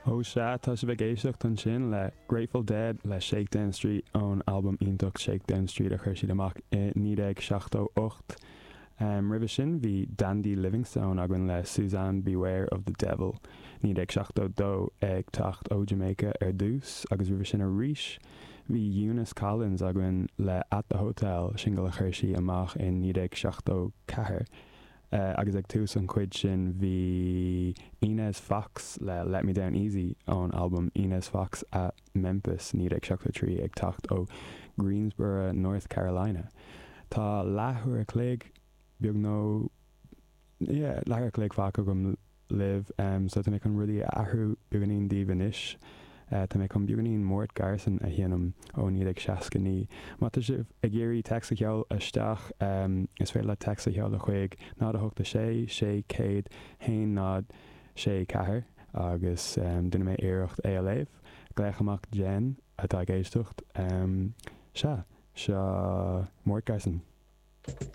Ó sea, tá sibh ag éisteacht ansin le Grateful Dead le Shakedown Street ón albam iontach Shakedown Street a chuir siad amach i 1978. Roimhe sin bhí Dandy Livingstone againn le Suzanne Beware of the Devil, 1972, ag teacht ó Jamaica ar dtús agus roimhe sin arís bhí Eunice Collins againn le At the Hotel, singil a chuir sí amach i 1974. Agus ag tús an chuid sin bhí Inez Foxx le Let Me Down Easy ón albam Inez Foxx at Memphis, 1973 ag teacht ó Greensboro, North Carolina. Tá leathuair a chloig, beag nó, yeah, leathuair a chloig fágtha agam libh so tá mé chun rudaí a athrú beagáinín daoibh anois. Tá mé chun beagáinín Mort Garson a sheinm ó 1969. Má tá sibh ag iarraidh téacs a sheoladh isteach, is féidir leat téacs a sheoladh chuig 0 8 6 600 1 0 6 4 agus déanfaidh mé iarracht é a léamh. Glaoch amach Jen atá ag éisteacht. Sea, seo Mort Garson.